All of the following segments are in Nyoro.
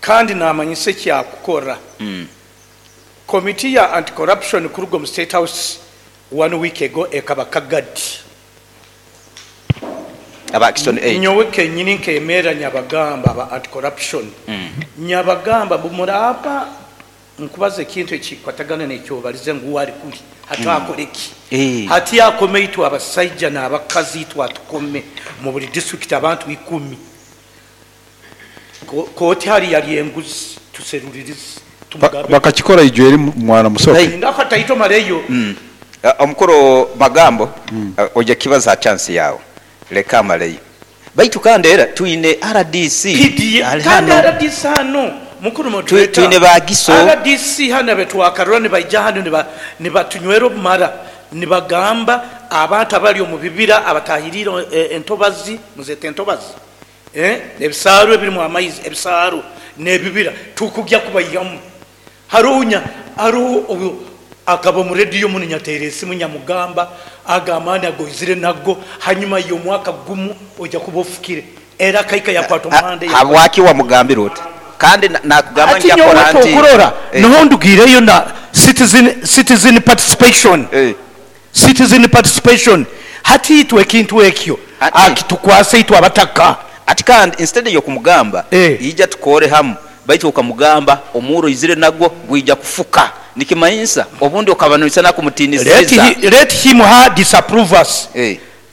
Kandi namanyisa ekyakukora. Committee ya anti-corruption kuruga omu State House one week ago ekaba Kagadi. Aba Action Aid. Nyowe kenyini nkemerra nyabagamba aba anti-corruption, nyabagamba mbu muraba nkubaza ekintu ekikwatagana nekyobalize ngu uwe ali kuli hati akole ki? Hati akome itwe abasaija n'abakazi itwe atukome mu buli district abantu 10. Kooti hali yali enguzi tuserulirize tumugambe. Bakakikora ijo eri mwana musoke. Linda akataito maleyo. Omukuru Magambo, oija kibaza ha chance yawe, leka amaleyo. Baitu kandi era twine RDC PDA ali kandi hano. RDC hano mukuru moderator, Twine bagiso. RDC hano abetwakarora nibaija hano nibatunywera obumara, nibagamba abantu abali omu bibira abatahirire entobazi, muzete entobazi, ebisaaru ebirimu amaizi, ebisaaru n'ebibira tukugya kubaihamu. Harunya haruho akaba omu rediyo muno nyateera esimu nyamugamba aga amaani agoizire nago hanyuma y'omwaka gumu ojja kuba ofukire era akaika yakwata omuhanda. Habwaki wamugambira oti kandi nakugamba Ati nyowe njakora nti okurora noho ndugiireyo na citizen participation. Citizen participation hati itwe ekintu ekyo akitukwase itwe abataka. Ati kandi instead y'okumugamba ija tukore hamu, baitu okamugamba omuuro oizire nagwo gwija kufuka, nikimanyisa obundi okaba noisana kumutinisiriza. Let him her disapprove us.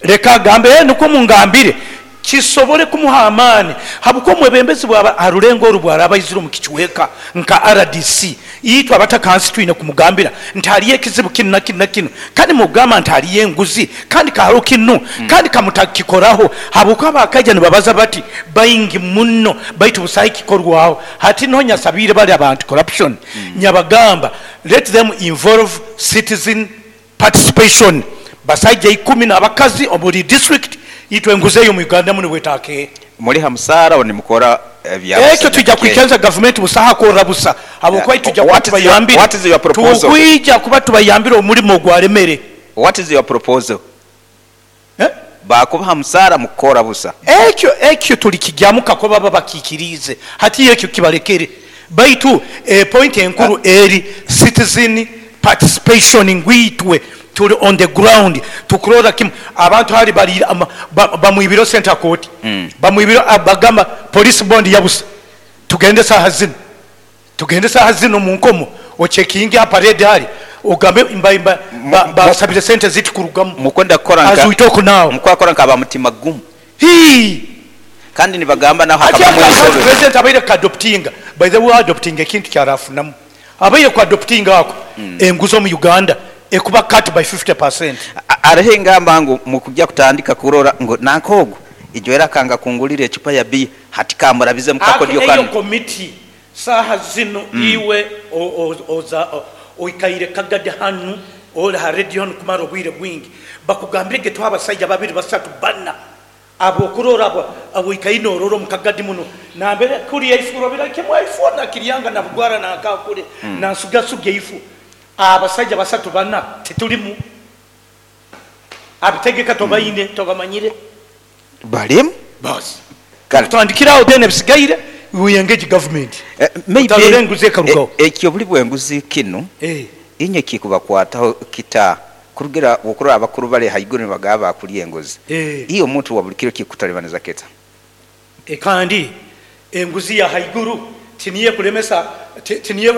Leka agambe nukwo mungambire kisobole kumuha amaani, habwokuba omwebembezi bwaba ha rulengo oru bwaraba aizire omu kicweka nka RDC, itwe abataka hansi twine kumugambira nti haliyo ekizibu kinu na kinu na kinu, kandi mugamba nti haliyo enguzi kandi kaharo kinu kandi kamutakikoraho, habwokuba bakaija nibabaza bati baingi muno baitu busaho ekikorwaho. Hati niho nyasabiire bali aba anti-corruption, nyabagamba let them involve citizen participation, basaija 10 n'abakazi omu buli district, itwe enguzi eyo omu Uganda muno bwetakeera. Muli ha musaara obu nimukora ebya Ekyo twija kwikiriza gavumenti busaho akorra busa, habwokuba itwe tujja kuba tubayambire, What is your proposal? tukwija kuba tubayambire omulimo ogwaremere. What is your proposal? Bakubaha musaara mukukora busa. Ekyo ekyo tulikigyamu kakuba baba bakiikiriize. Hati ekyo kibalekere. Baitu point enkuru eri citizen participation ngu itwe tuli on the ground tukurora kimu abantu hali bali bamwibire sente ha kooti, bamwibire bagamba police bond yabusa, tugende saaha zinu, tugende saaha zinu omu nkomo ocekinge ha parade hali ogambe basabire sente ziti kurugamu. Mukwenda kukora As we talk now. Mukwakora nka abamutima gumu. Hii. Kandi nibagamba naho Ati hakabamu aka ensobi. President abaire kuadoptinga, by the way adoptinga ekintu kyarafunamu, abaire kuadoptinga ako enguzi omu Uganda ekuba cut by 50%. Hariho engamba ngu mukujja kutandika kurora ngu nanka ogu ijwera akanga kungulira ecupa ya biya hati kamurabize mukakodyo Eyo kanu. komiti saaha zinu iwe oikaire Kagadi hanu ori ha radio hanu kumara obwire bwingi, bakugambire getuha abasaija 2 3 4 abokurora abo oikaire norora omu Kagadi muno nambere kuri eifu robira kimwe eifu na kiryanga na bugwara na akakure na nsugasuga eifu abasaija 3 4 titulimu abitegeka tobaine tobamanyire balimu basi tutandikiraho then ebisigaire we engage government. Maybe Otarora enguzi ekarugaho. Ekyo buli bwenguzi kinu inye kikubakwataho kita kurugira okurora abakuru bali haiguru nibagaba bakulya enguzi. Iyo omuntu wa buli kiro kikutalibaniza kita. Kandi enguzi ya haiguru tiniye kulemesa tiniye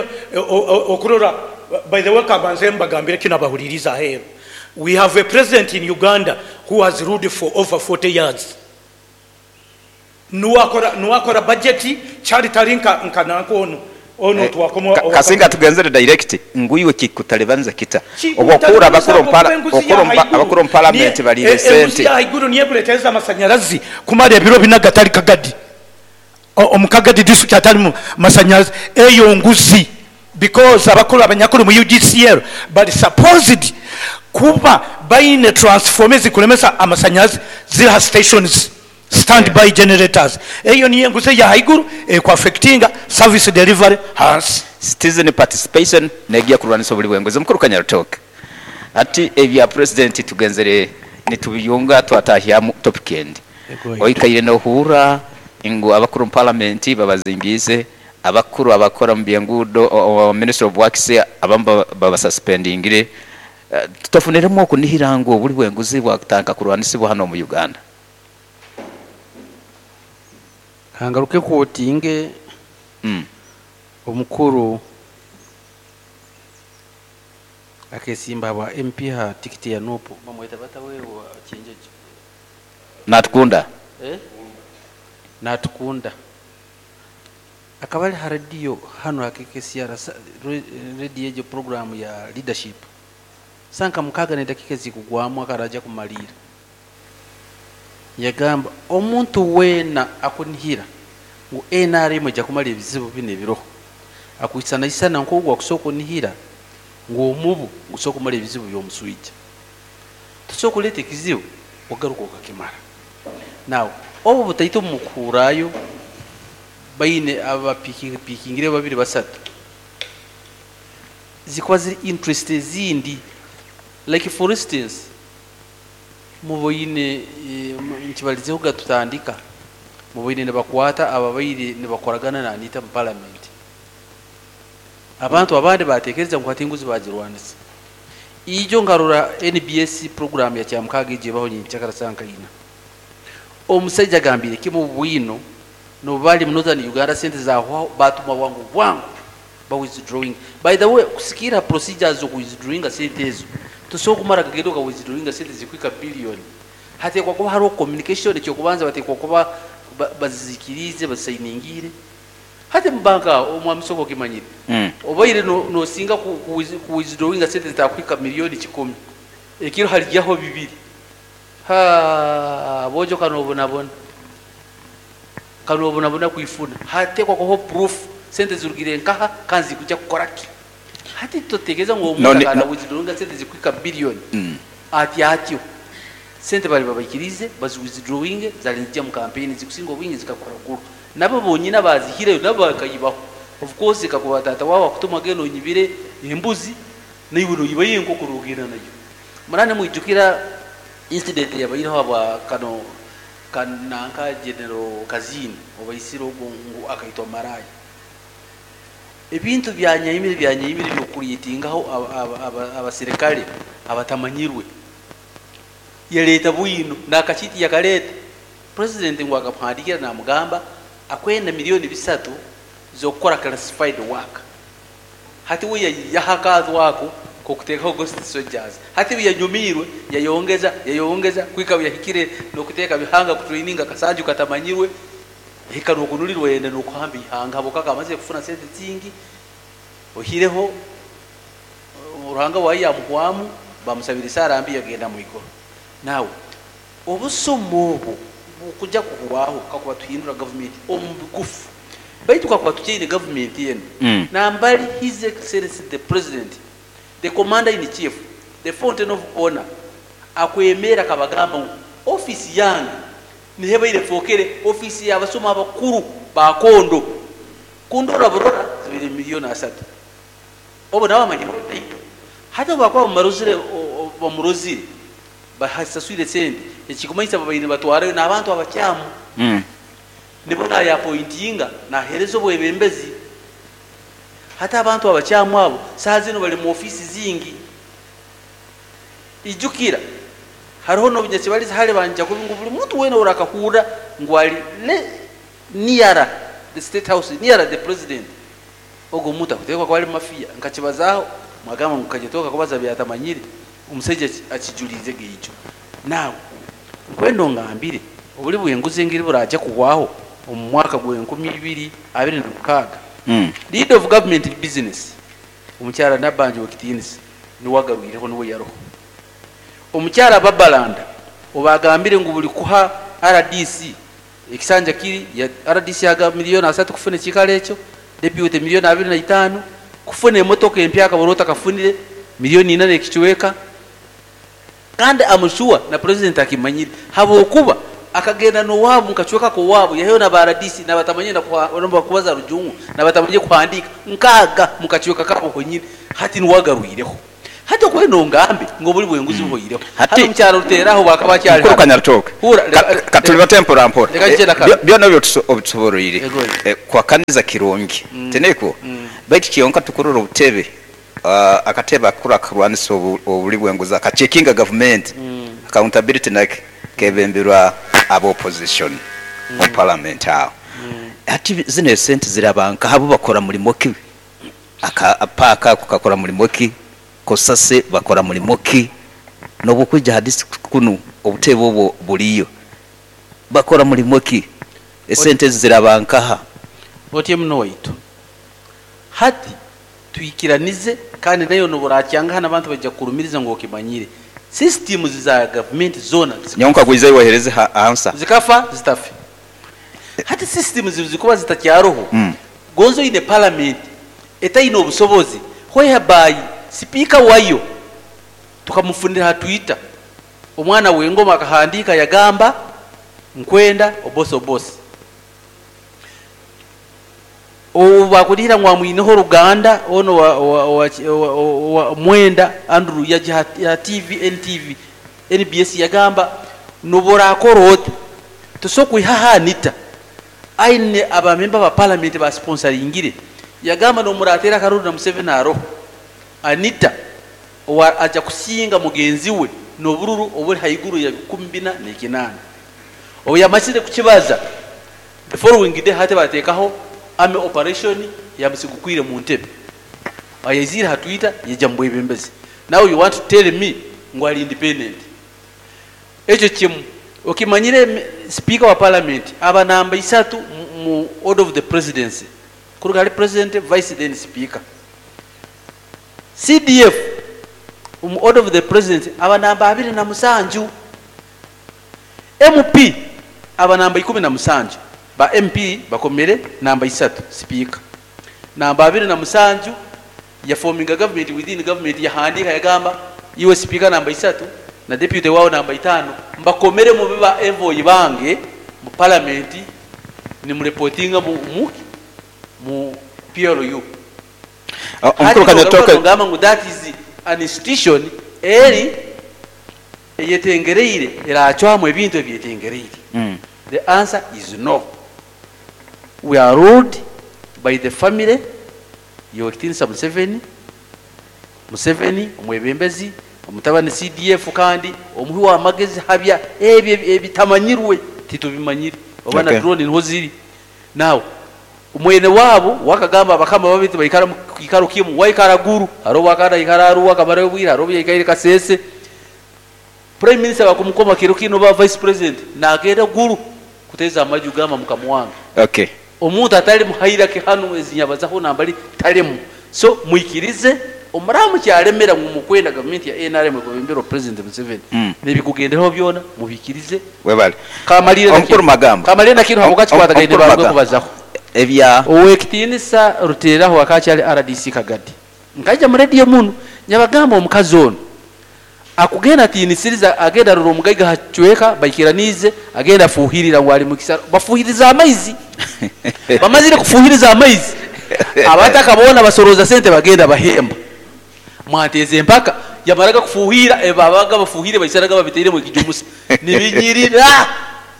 okurora. By the way, kabanze mbagambire kino abahuliriza aheeru. We have a president in Uganda who has ruled for over 40 years. Nuwakora budget chali tali nka nanko ono. Ono twakoma Kasinga tugenzere direct nguiwe kikutalibaniza kita. Kikutalibaniza Obwokura kwa enguzi ya haiguru. abakuru parliament balire Enguzi sente. ya haiguru niye kuleteza amasanyarazi kumara ebiro bina gatali Kagadi. Omu Kagadi district atali mu masanyarazi eyo nguzi because abakuru abanyakuru mu UGCL but supposed kuba baine transformers kulemesa amasanyarazi zira stations standby generators. Eyo niyo enguzi ya haiguru ku affectinga service delivery hansi. Citizen participation negiya kurwanisa obuli bwenguzi. Mukuru Kanyarutoke ati ebya president tugenzere nitubiyunga twatahyamu topic endi. Ego. Oikaire nohura ngu abakuru mu parliament babazingize Abakuru abakora mu byenguudo, Ministry of Works, abamu babasuspendingire. Tutafuniremu okunihira ngu obuli bw'enguzi bwakutandika kurwanisibwa hano mu Uganda. Kangaruke kwotinge omukuru akesimba bwa MP ha tikiti ya NUP, bamweta batawe wa Kyenjeje. Natukunda. Natukunda akaba ali ha radio hano hakekesiara radio ejo program ya leadership sanka mukaga ne dakika zikugwamu akaraja kumalira. Yagamba omuntu wena akunihira ngu NRM ejja kumala ebizibu bino ebiroho, akwisana isana nk'ogwo akusooka onihira ngu omubu gusooka kumala ebizibu by'omuswija, tusooka kuleeta ekizibu ogaruka okakimara. Now obu butaito mukuhurayo baine abapikingire babiri basatu zikuba ziri interest ezindi, like for instance muboine nkibalizeho gatutandika muboine nibakwata ababaire nibakoragana na Anita mu parliament. Abantu abandi batekereza ngu hati enguzi bagirwanisa. Ijo nkarora NBS program ya Kyamukaga ije baho nyincakara sankaina. Omusajja agambire kimu bwino no bali mu Northern Uganda sente za batuma wangu wangu ba withdrawing. By the way, kusikira procedures zo withdrawing sente ezo tusobola kumara kagendo ka withdrawing sente zikwika billion. Hatekwa kuba hariho communication ekyokubanza batekwa kuba bazikirize basainingire. Hati mbanka omwami soko kimanyire. Obaire no singa ku withdrawing sente zitakwika milioni 10. Ekiro halijaho bibiri. Ha bojo kanobonabona. Kanobonabona kuifuna. Hatekwa kuho proof sente zirugire nkaha kanzi kujya kukoraki. Hati tutekereza ngo omuntu kana withdrawing sente zikwika billion. Ati atyo. Sente bali babaikirize bazi withdrawing zalinzija mu campaign zikusinga obwingi zikakora guru. Nabo bonyina bazihireyo nabo bakayibaho. Of course kakuba tata wawa kutuma geno nyibire embuzi naiwe no yibaye enkoko rugenda nayo. Murane mwijukira incident yabayireho aba kano kananka General Kazini obaisiro ngu akaitwa maraya. Ebintu byanyayimire byanyayimire byokulitingaho abaserikale abatamanyirwe. Yaleta bwino nakachiti yakaleta president ngo akamuhandikira namugamba akwenda milioni 3 zokukora classified work. Hati we yahakazi wako kokuteka ghost soldiers. Hati we yanyumirwe yayongeza yayongeza kwika yahikire no kuteka bihanga kutraininga kasanju katamanyirwe hika nokunulirwe yende nokuhamba ihanga abo kaka amaze kufuna sente zingi ohireho uruhanga wayi amuhwamu bamusabira isarambi yagenda mu igoro. Nawe obusomo obu kujja kuhwaho kakuba tuhindura government omubugufu baitu kakuba tuchaine government yenu. Nambali His Excellency the President, the Commander in Chief, the Fountain of Honor akwemera kabagamba ngu office yange nihebaire fokere office y'abasoma abakuru bakondo kundora burora zibiri milioni 3 obo nawe amanyiro hata bakwa bamaruzire bamurozire bahasaswire sente ekikumanyisa babaine batwarayo n'abantu abakyamu. Nibona ya pointinga na herezo bwebembezi. Hata abantu abakyamu abo saa zino bali mu ofisi zingi. Ijukira hariho n'obunyasi bali hale banja kubingu buli muntu wena urakahura ngwali near the state house near the president ogo muntu akutekwa kwali mafia nkakibazaho mwagamba ngukajetoka kubaza byatamanyire omusajja akijulize geijo. Nawe nkwendo ngambire obuli bwenguzi ngiri buraje kuwaho omu mwaka gwe 2026. Leader of government business omukyala Nabanja wekitinisi niwagaruireho niwe yaroho. Omukyala Babalanda obagambire ngu buli kuha RDC ekisanja kiri ya RDC yaga milioni 3 kufuna ekikalo ekyo, deputy milioni 25 kufuna emotoka empya akaborota kafunire milioni 8 ekichweka. Kandi amushua na president akimanyire habokuba akagenda no wabo nkachweka ko wabo yaheyo na RDC nabatamanye na kubaza rujungu nabatamanye kuhandika nkaga mukachweka kabo konyine hati niwagaruireho. Hati okuba nongambe ngu obuli bw'enguzi buhoireho. Hati Hati omukyaro Ruteraho bwakaba akyali mukuru hanu. Kanyarutooke, Hura, katulibate mpora mpora. Leka nkye na kanu. Byona ebyo obitusoboroire. Ego. Kuhakaniza kirungi. Tiniko? Baitu kyonka tukurora obutebe, akatebe akakuru akarwanisa obuli bw'enguzi akacekinga gavumenti, accountability nake kebemberwa aba opposition omu parliament aho. Hati zino esente ziraba nkaha, bo bakora mulimo ki? Aka paaka ako kakora mulimo ki? Kosase bakora mulimo ki? N'obukwija ha district kunu obutebe obwo buliyo, bakora mulimo ki? Esente ezi ziraba nkaha? Otye muno waitu. Hati twikiranize kandi nayo nobu orakyanga hanu abantu baija kukurumiriza ngu okimanyire. Systems za gavumenti zoona zikafa. Nyowe nkagwiza iwe ohereze answer. Zikafa zitafe. Hati systems zikuba zitakyaroho, gonza oine parliament etaine obusobozi whereby speaker wayo tukamufunira ha Twitter, omwana w'engoma akahandiika yagamba nkwenda obosi obosi. Obu bakurihira ngu amwineho oruganda ono wa Mwenda Andrew yaja ha TV NTV NBS yagamba nobu orakora ota tosobola kwihaho Anita aine abamemba ba parliament basponsoringire. Yagamba nomuratera akaruru na Museveni aroho Anita owa aja kusinga mugenzi we n'obururu obuli haiguru ya 48. Obu yamazire kukibaza, the following day hati batekaho army operation yamusigukwire mu ntebe. Ayaizire ha Twitter yaija mu bwebembezi. Now you want to tell me ngu ali independent. Ekyo kimu okimanyire, speaker wa parliament aba namba 3 mu order of the presidency, kuruga hali president, vice, then speaker. CDF mu order of the presidency aba namba 27. MP aba namba 17. Ba MP bakomere namba 3 speaker, namba 27 yaforminga government within government. Yahandika yagamba iwe speaker namba 3 na deputy wao namba 5 mbakomere mube ba envoy bange mu parliament, nimureportinga mu PLU. Omukuru Kanyatoke, ngamba ngu that is an institution eri eyetengereire eracwamu ebintu ebyetengereire. The answer is no. We are ruled by the family yowekitinisa Museveni. Museveni omwebembezi, omutabani CDF, kandi omuhi w'amagezi habya ebyo ebitamanyirwe, titubimanyire oba na drone niho ziri. Now mwene wabo wakagamba abakama babiri baikara mu kiikaro kimu, waikara Guru, hariho wakanda ikara Arua akamarayo obwire, hariho yaikaire Kasese. Prime minister bakumukoma kiro kino ba vice president nagenda Guru kuteza amaju gamba mukama wange. Omuntu atali muhairake hanu ezinyabazaho nambali talemu. So mwikirize omuramu kyalemera ngu mukwenda gavumenti ya NRM ekwebembera President Museveni, nebikugenderaho byona mubikirize. Webale. Kamalire na Omukuru kinu. Magamba. Kamalire na kinu habwokakikwatagaine Omukuru barwe Magamba. kubazaho. Ebya Owekitinisa Ruteraho akakyali RDC Kagadi, nkaija mu radio muno nyabagamba omukazi ono akugenda atinisiriza, agenda arora omugaiga hacweka baikiranize, agenda afuhirira ngu ali mukisa bafuhiriza amaizi. Bamazire kufuhiriza amaizi, abataka bona basoroza sente bagenda bahemba mwateze empaka. Yamaraga kufuhira, babaga bafuhire baisaraga babiteire mu kijumusa nibinyirira,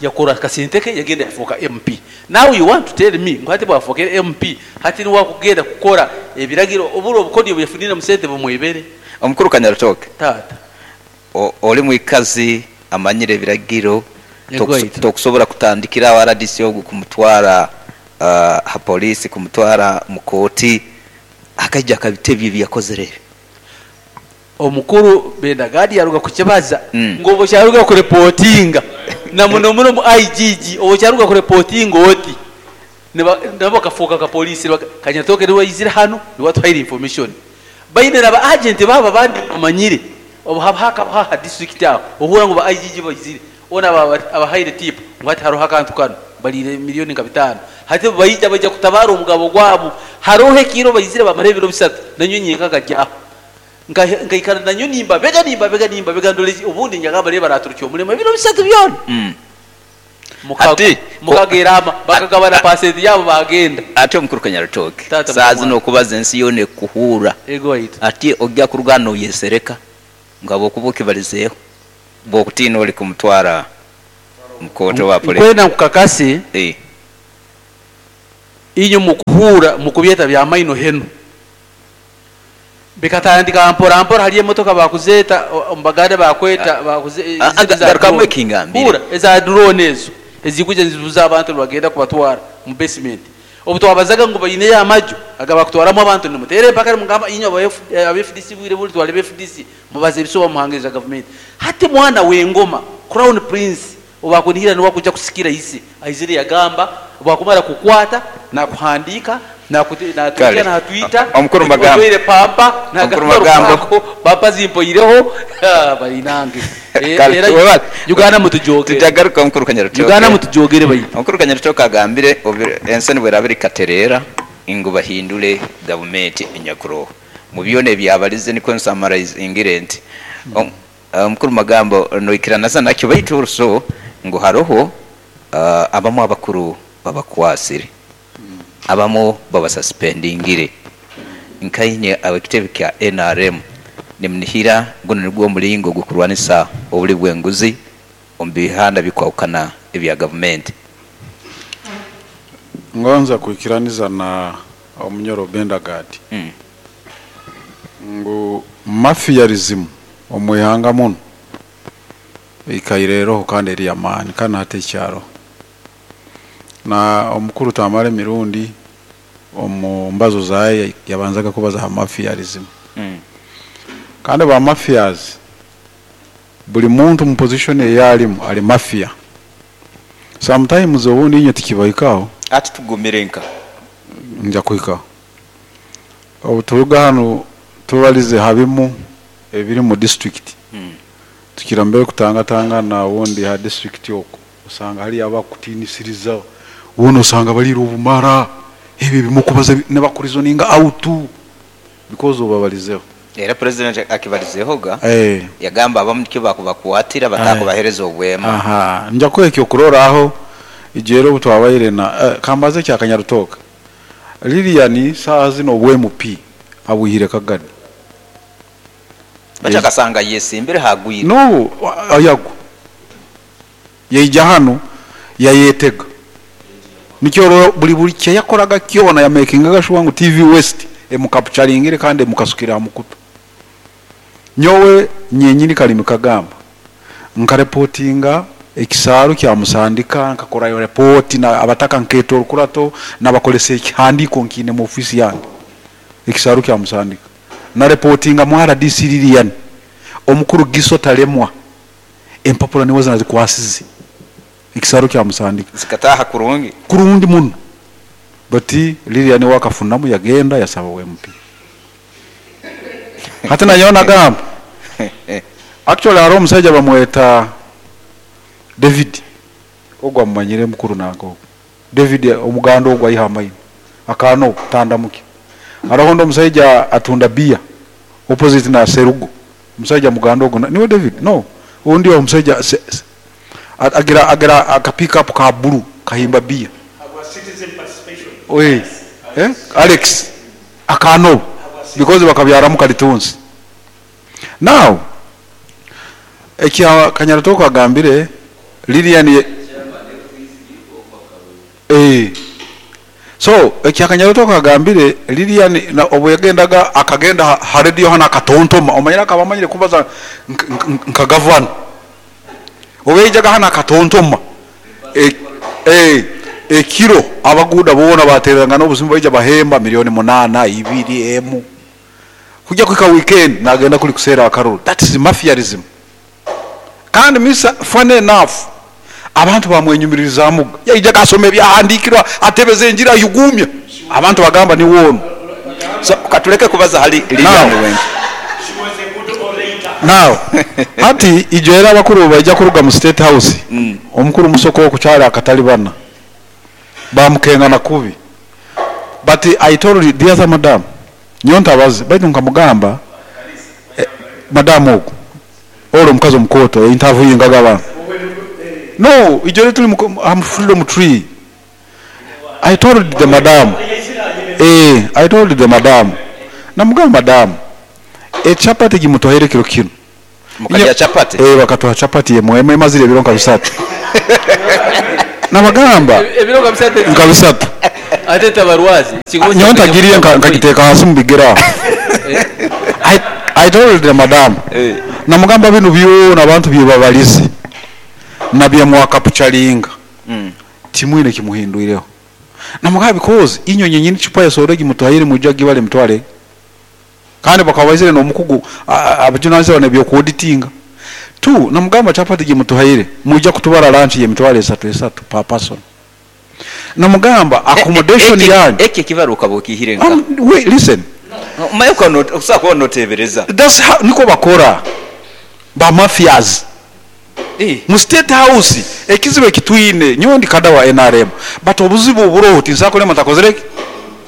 yakora kasente ke yagenda yafuuka MP. Now you want to tell me ngu hati bwafukire MP hati niwe akugenda kukora ebiragiro oburo obukodyo bweyafunire mu sente bumwebere? Omukuru Kanyarutooke, Taata. Oli mwikazi amanyire ebiragiro. Yego, aita. Tokusobola kutandikira awo RDC ogu kumutwara ha polisi, kumutwara mu kooti, akaija akabitebyo ebyakozere ebyo. Omukuru Bendagadi yaruga kukibaza ngu obu kyaruga kureportinga na muno muno mu IGG, obu kyaruga kureportinga oti nabo bakafuuka ka polisi. Kanyatoke niwe yaizire hanu, niwe atuhaire information. Baine naba agent babo abandi bamanyire obu haba hakabaho ha district aho, ohura ngu ba IGG baizire ona abahaire tip ngu hati haroho akantu kano balire miliyoni nka 5. Hati baija baija kutabara omugabo gwabo. Haroho ekiro baizire bamara ebiro 3 nanyo nyenka kajyaho nkaikara nanyo nimbabega nimbabega nimbabega ndole obundi nyagamba reba baraturukya omulimo ebiro 3 byona. Ati Mukagerama bakagabana pasenti yabo bagenda. Ati omukuru Kanyarutoke Tata saa mwana. zino okubaza ensi yoona ekuhuura. Ego waitu. Ati ojja kuruga noyesereka nga bwokuba okibalizeeho bwokutiina oli kumutwara mukooti oba polisi. Nkwenda nkukakase inywe mukuhuura mukubyeta bya maino henu bikatandika mpora mpora. Hali emotoka bakuzeeta omubaganda bakweta Garukamu ekingambire. Huura eza drone ezo ezikuja nizibuza abantu nibagenda kubatwara mu basement. Obu twabazaga ngu baineyo amaju agabakutwaramu abantu nimutere empaka, mugamba inywe aba FDC bwire buli twale FDC mubaze ebisuba muhangiriza gavumenti. Hati mwana w'engoma Crown Prince obakunihira niwe akuja kusikira ise aizire yagamba bwakumara kukwata nakuhandika Kale. natuja natwita Omukuru Magambo. Otoire pampa Omukuru nagamba Magambo. rukwako, pampa zimpoireho. Ah, bainange. Kale, Era webale. Uganda mutujogere. Tujagaruka omukuru Kanyarutoke. Uganda mutujogere baitu. Omukuru Kanyarutoke agambire ensi nibweraba erikatereera ngu bahindule gavumenti enyakuroho mu byona ebyabalize nikwo nsamaraizingire nti omukuru Magambo noikiranaza nakyo, baitu oruso ngu haroho abamu abakuru babakwasire, abamu babasuspendingire nkainye abakitebe kya NRM nimunihira guno nigwo omulingo gukurwanisa obuli bw'enguzi omu bihanda bikwahukana ebya gavumenti. Ngonza kuikiraniza na omunyoro Bendagadi ngu mafiarism omwihanga muno ikaireroho kandi eri amaani kandi hati ekyaro na omukuru Tamale Mirundi omu mbazo zaye yabanzaga kubaza ha mafiarism. Kandi ba mafias buli muntu mu position eyalimu ali mafia. Sometimes obundi inye tikibahikaho. Ati tugumire nka nja kuhikaho obu turuga hano tubalize habimu ebiri mu district. Tukira mbere kutangatangana ubundi ha district oko usanga hari abakutinisiriza ubundi usanga barira obumara ebi bimukubaza nebakurizoninga out because obabalizeho. Era president akibalizehoga yagamba abamu nikyo bakubakwatira batakubahereza obwema. Aha, nja kwekyo okurora aho ijero obu twabaire na kambaze kya Kanyarutoka Lilian saa zino obw MP abuhire Kagadi. Bachakasanga yesimbire hagwire. No, ayago yeija hano yayetega nikyo buli buli kye yakoraga kyona ya makingaga sure ngu TV West emukapturingire kandi emukasukira mukutu. Nyowe nyenyini kalimi kagamba nkareportinga ekisaaru kya musandika nkakora yo report na abataka nketo orukurato nabakolesa ekihandiko nkine mu ofisi yange ekisaaru kya musandika na reportinga mu RDC Lilian omukuru Giso talemwa empapula niwe zinazikwasize ekisaaru kya musandika zikataha kurungi kurungi muno bati Lilian wakafunamu yagenda yasaba MP hata nayo nagamba actually haro omusajja bamweta David ogwo amumanyire mukuru nango David omuganda ogwo ayiha amaino akano tandamuke hariho ndo omusajja atunda bia opposite na Serugo omusajja muganda ogwo niwe David no undi omusajja agira agira aka pick up ka blue kahimba bia oye Alex akano because bakabyaramu kalitunsi. Now ekya Kanyarutoka agambire Lilian so ekya Kanyarutoka agambire Lilian na obu yagendaga akagenda ha radio hana akatontoma omanyira akabamanyire kubaza nka governor obejaga hana akatontoma ekiro abaguda bona bateranga n'obuzimu baija bahemba milioni 8 2 emu kujya kwika weekend nagenda kuli kusera akaruru. That is mafiarism. Kandi misa funny enough abantu bamwenyumiririza muga yaija kasome byahandikirwa atebeze enjira yugumya abantu bagamba ni wono. So katuleke kubaza hali Lilian wengi now hati ijoera abakuru baija kuruga mu state house. Omukuru musoko okukyala akatali bana bamukengana kubi but I told the other madam nyonta bazi baitu nkamugamba madam ogu olo omukazi omukoto interview ngaga abantu No, ijoro tuli mu Freedom Tree. I told the madam. I told the madam. Namugamba madam, echapati gimutohere kiro kino. Mukalya chapati? Bakatuha chapati yemwe emazire ebiro nka bisatu. Nabagamba ebiro nka bisatu. Nka bisatu. Ate tabarwazi. Nyowe ntagiriye nkagiteka hasi mu bigera. I told the madam. Namugamba bino byona abantu byebabalize. Nabye mwakapuchalinga. Timwine kimuhinduireho. Namugamba because inyonyi nyini chupa ya soregi mutuhaire mujagi bale mutwale. Kandi bakabazire no mukugu abajunanise bane byo kuauditinga. Tu namugamba chapati gimutuhaire mujja kutubara lunch ye mitwale 3 per person. Namugamba accommodation yanyu eke kibaruka bokihire nka. Wait, listen. Mayuko no usako notebereza. That's how niko bakora. Ba mafias. Mu State House ekizibe kitwine nyowe ndi kada wa NRM but obuzibu oburoho tinsakole matakozereke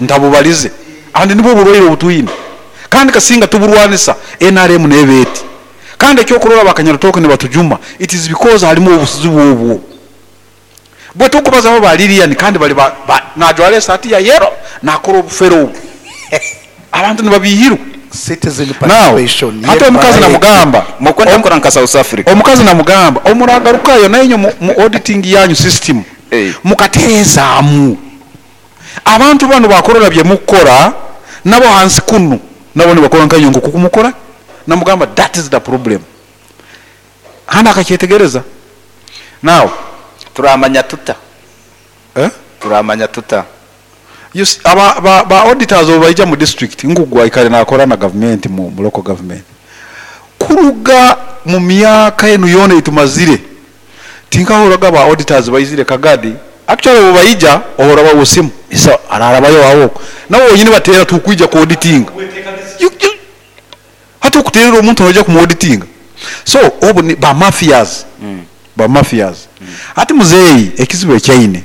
ntabubalize andi nibo buroire obutwine kandi kasinga tuburwanisa NRM nebeti kandi ekyokurora bakanyarutoke ne batujuma it is because harimo obuzibu obwo bwe tukubaza abo balirian kandi bali najwale sati ya yero nakora obufero obwo abantu nibabihirwa. Citizen participation. Hata omukazi namugamba mukwenda kukora nka South Africa. Omukazi namugamba omuragarukayo nayo mu auditing yanyu system mukaterezamu abantu bano bakorora bye mukora nabo hansi kunu nabo nibakora nkanyongo kukumukora. Namugamba that is the problem. Hana akacyetegereza. Now turamanya tuta. Turamanya tuta. You see, aba ba auditors obaija mu district ngugwa ikale nakora na government mu local government kuruga mu myaka enu yona itumazire tinkahuraga ba auditors baizire Kagadi actually obaija ohora ba usimu isa ararabayo aho nabo nyine batera tukwija ku auditing hata kuterera omuntu oja ku auditing so obu ni ba mafias. Ba mafias. Ati muzeyi ekizibu ekyaine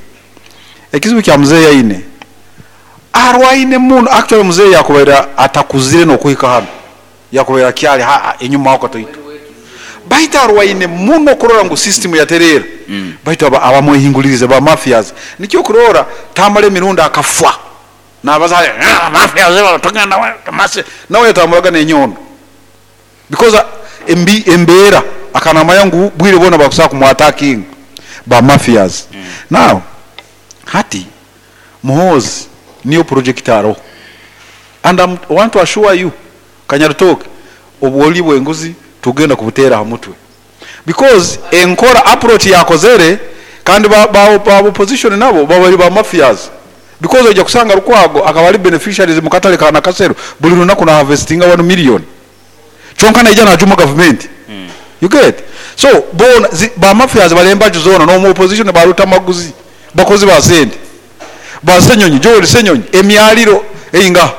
ekizibu kya muzeyi aine arwaine muno actually muzeyi yakubera atakuzire no kuhika hano yakubera kyali enyuma wako toito baita arwaine muno kurora ngu system yaterera. Baita abamwehingulirize ba mafias nikyo kurora tamale mirundi akafwa nabaza mafias batugenda mase nawe yatamuraga nenyondo because embera akanamaya ngu bwire bona bakusa kumwataking ba mafias. Now hati Muhoozi niyo project aro and I want to assure you Kanyarutoke obwoli bwenguzi tugenda kubutera hamutwe because enkora approach yakozere kandi ba opposition nabo babali ba mafias because ojja kusanga Lukwago akabali beneficiaries mukatale kana kasero buli lunaku na harvestinga 1 million chonka naija na juma government. You get so bona ba mafias balemba juzona no mu opposition baruta maguzi bakozi ba sente ba Senyonyi Joel Senyonyi emyaliro einga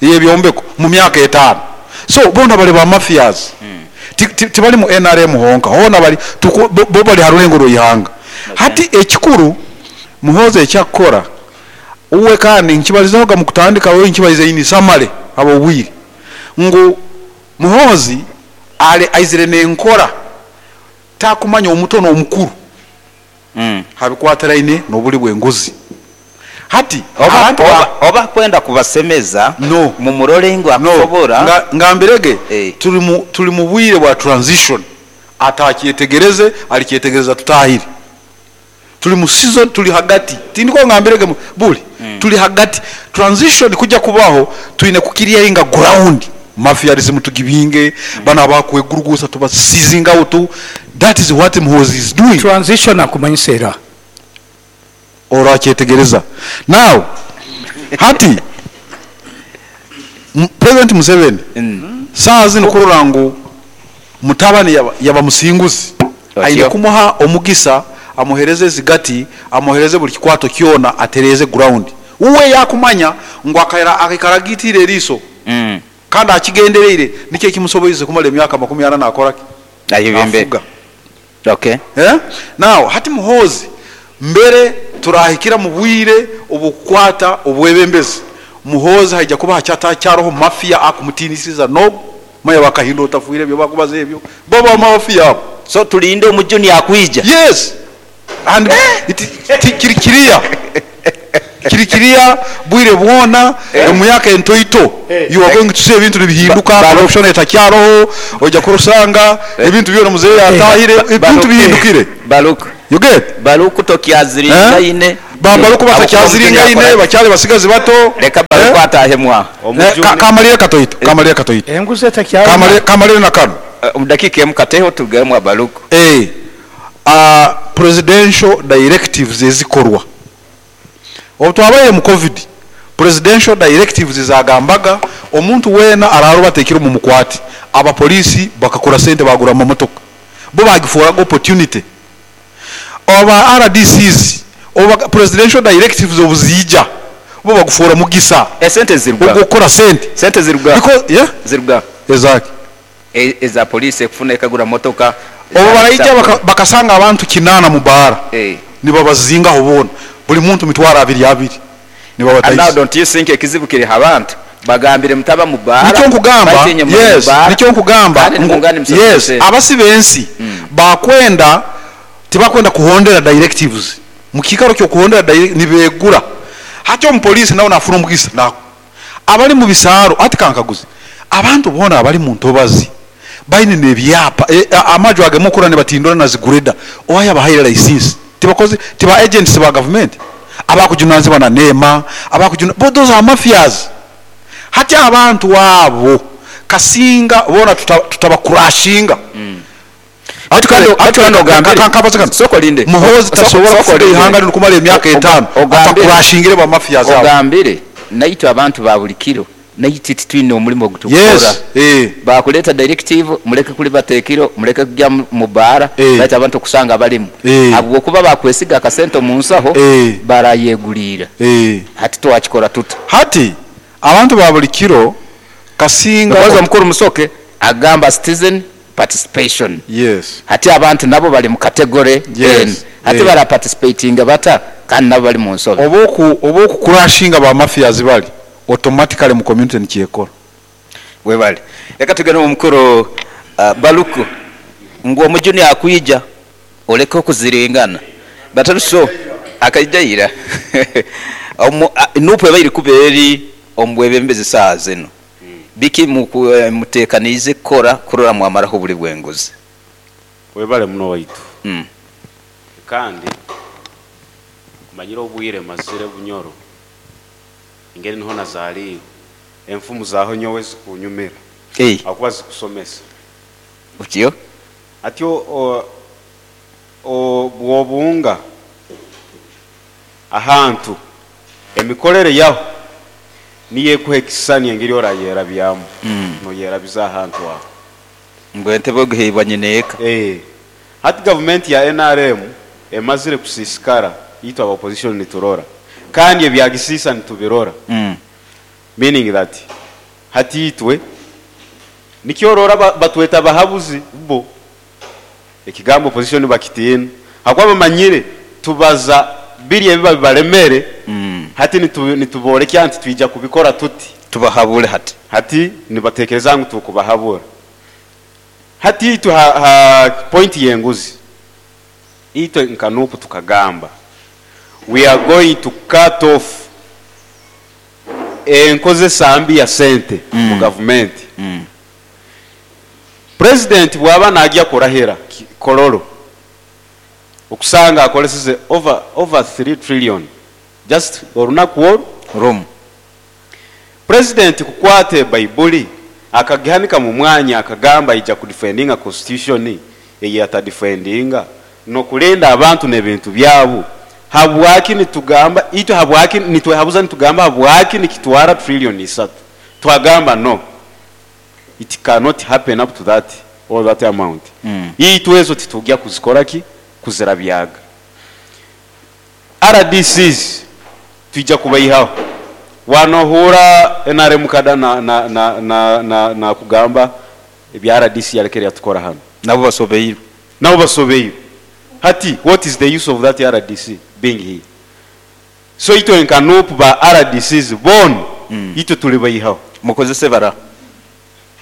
yebyombeko mu myaka 5. So bona bali ba mafias. Tibali mu NRM honka hona bali bo bali harulengo royihanga. Hati ekikuru Muhoozi ekyakora uwe kandi nkibalizaho mu kutandika we nkibalize ini samale abo bwire ngu Muhoozi ale aizire nenkora takumanya omutono omukuru habikwatiraine nobuli bwenguzi. Hati oba kwenda kubasemeza no mumurole ngo akusobora ngambirege tuli mu bwire bwa transition atakyetegereze alikyetegereza tutahiri tuli mu season tuli hagati tindiko ngambirege buli tuli hagati transition kujja kubaho tuine kukiriya ground mafiarism tugibinge bana bakwegurugusa tuba seizing out. That is what Muhoozi is doing. Transition akumanyisera orakyetegereza. Now hati President Museveni saa zino kurora ngu mutabani yaba musinguzi aine kumuha omugisa amuhereze zigati amuhereze buli kikwato kyona atereze ground uwe yakumanya ngu akakaragitire eriso kandi akigendereire nikyo kimusoboize kumala emyaka 40 nakora ki ayibembe. Okay. Now hati Muhoozi mbere turahikira mu bwire obukwata obwebembezi Muhoozi haija kuba hacyatacyaraho mafia akumutinisiza no maya bakahindo otafuire byo bakubaza ebyo baba mafia. So tulinde omujuni akwija. Yes. And it, kiri kiriya kiri kiriya bwire bwona emyaka entoito you are going to see ebintu nibihinduka, corruption etakyaroho, ojja kurusanga ebintu byona muzeeyi atahire, ebintu bihindukire. Baruku. You get? Baruku tokyaziringaine. Babaruku batakyaziringaine, bakyali basigazi bato. Leka Baruku atahemwa. Kamalire katoito, kamalire katoito. Enguzi etakyali. Kamalire, kamalire na kano. Omu dakiika emu kateho tugeremu Abaruku. Presidential directives ezikorwa obu twabaire mu COVID, presidential directives zagambaga omuntu weena araroba atekire omu mukwati, abapolisi bakakora sente bagura amamotoka, bo bagifuuraga opportunity. Oba RDCs oba presidential directives obuziija, bo bagufuura mugisa Esente ziruga. Ogukora sente. Sente ziruga. Because, yeah? Ziruga. Ezaki? Eza polisi ekufuna ekagura motoka. Obo baraija bakasanga abantu 8 mu baara, nibabazingaho boona, buli muntu mitwaro abiri abiri, And now nibabatayisa. don't you think ekizibu kiri abantu bagambire mutaba mu baara? Nikyo nkugamba. Batinye muri mu Yes. baara. Nikyo nkugamba. Kandi nimungane musasule Yes. sente. Abasi b'ensi bakwenda tibakwenda kuhondera directives, mu kiikaro kyokuhondera nibegura hati omupoliisi nawe nafuna omugisa nako abali mu bisaaro. Ati kankaguze, abantu boona abali mu ntobazi baine nebyapa, amaju agemukura nibatindura na zigureda, owaye abahaire license? Tibakoze tiba agents ba government abakujunanizibwa na NEMA abakujuna, but those are mafias. Hati abantu abo kasinga bona tutabakurashinga. Ati kandi ogambire. Soko linde. Muhoozi tasobola Soko kufuga linde. ihanga lino kumala emyaka 5 atakurashingire ba mafia zabo. Ogambire naitwe abantu ba buli kiro naitwe titwine omulimu ogutukukora. Yes, Bakuleta directive muleke kuli batekiro, muleke kujya mu baara, baitu abantu okusanga balimu, habwokuba bakwesiga akasente mu nsaho, barayegulira. Hati twakikora tuta? Hati abantu ba buli kiro kasinga Because omukuru Musoke agamba citizen participation. Hati abantu nabo bali mu category N. Hati bara participatinga bata kandi nabo bali mu nsobe? Oba okukurashinga ba mafias bali automatically mu community nikyekora. Webale. Reka tugende mu mukuru Baluku ngu omujuni akwija oleke okuziringana bataruso akaijaira nupu ebairi kuba eri omubwebembezi saa zino biki mutekaniize kukora kurora mwamaraho buli bwenguzi? Webale muno waitu. Kandi kumanyire obwire mazire Bunyoro engeri niho nazaaliwe, enfumu zaaho nyowe zikunyumira akuba zikusomesa. Otyo. Atyo bwobunga ahantu emikorere yaho niyo ekuha ekisani engeri orayerabyamu, noyerabiza ahantu aho. Ngu entebe oguheibwa nyineeka. Hati gavumenti ya NRM emazire kusisikara, itwe aba opposition niturora kandi ebyagisisa nitubirora, meaning that hati itwe nikyorora batweta bahabuzi bo ekigambo opposition bakitiina hakuba bamanyire tubaza biri ebiba bibaremere. Hati nituborekya nti twija kubikora tuti. Tubahabure hati. Hati nibatekereza ngu tukubahabura. Hati itwe ha point yenguzi, itwe nka NUP tukagamba we are going to cut off enkozesa mbi ya sente mu gavumenti. President bwaba najya kurahira Kololo, okusanga akoleseze over 3 trillion just olunaku olwo Rome. President kukwate Baibuli akagihanika mu mwanya akagamba ija kudefendinga constitution, eye atadefendinga nokulinda abantu n'ebintu byabo. Habwaki nitugamba itwe, habwaki nitwehabuza nitugamba habwaki nikitwara trillion 3? Twagamba no, it cannot happen up to that all that amount. Itwe ezo titujya kuzikora ki kuzirabyaga. RDCs tujya kubayihaho wanohura NRM kada na kugamba ebya RDC yarekere yatukora hano. Nabo basobeire. Nabo basobeire. Hati what is the use of that RDC being here? So itwe nka NUP ba RDCs bon, itwe tuli bayihaho. Mukozese bara.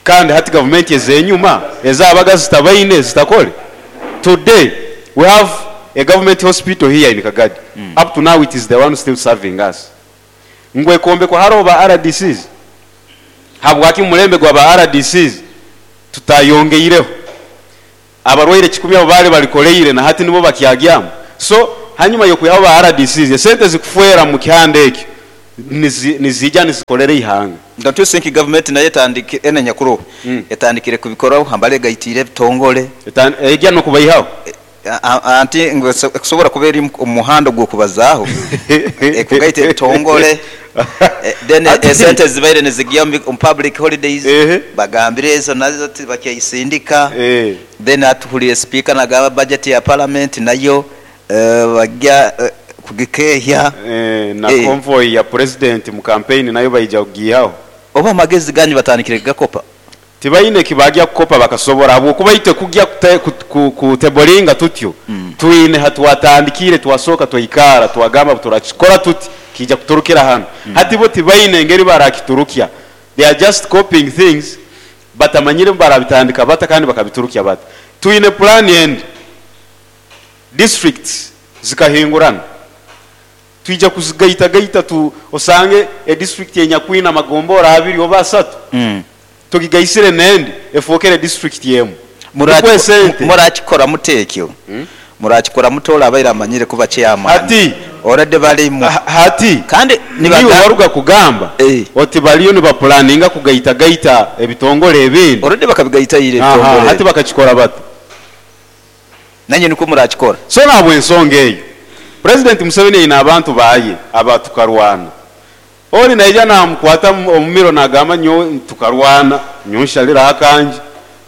Kandi hati government ezenyuma ezabaga zitabaine zitakole. Today we have a government hospital here in Kagadi. Up to now it is the one still serving us. Ngu ekombekwa haroho ba RDCs? Habwaki mu mulembe gwa ba RDCs tutayongeireho? Abarwaire kikumi abo baali balikoleire na hati nibo bakyagyamu. So hanyuma y'okwihaho ba RDCs, esente zikufwera mu kihanda ekyo niziija nizikolera ihanga. Don't you think government nayo etandikire, enu enyakuroho, etandikire kubikoraho hambali egaitiire ebitongole? Egya n'okubaihaho. Anti ngu ekusobora kuba eri omu muhanda ogw'okubazaaho, ekugaita ebitongole, then esente ezibaire nizigya omu public holidays, bagambire ezo nazo tibakyaisindika, then hati tuhuliire sipiika nagamba budget ya parliament nayo bagya kugikeehya. Na convoy ya president mu campaign nayo baija kugiihaho. Oba amagezi ganyu batandikire kugakopa? Tibaine kibagya kukopa bakasobora habwokuba itwe kugya kuteboringa tutyo twine hatwatandikiire twasooka twaikara twagamba ngu turakikora tuti kiija kuturukira hanu. Hati bo tibaine engeri barakiturukya they are just copying things batamanyire ngu barabitandika bata kandi bakabiturukya bata. Twine puraani endi districts zikahingurana twija kuzigaitagaita tu osange edistrikiti enyakwine amagombora abiri oba asatu tugigaisire n'endi efookere disiturikiti emu. Nukwo esente. Murakikora muta ekyo? Murakikora muta ole abaire amanyire kuba chairman? Hati, Already balimu. hati Kandi niiwe nibagamba. waruga kugamba oti baliyo nibapulaninga kugaitagaita ebitongore ebindi. Already bakabigaita ira Aha, ebitongore hati ebi. bakakikora bata? Nanye nikwo murakikora. So nahabw'ensonga eyo, Purezidenti Museveni aine abantu baye aba tukarwana. Ori naija namukwata omu miro nagamba nyowe tukarwana, nyowe nshariraho akangye.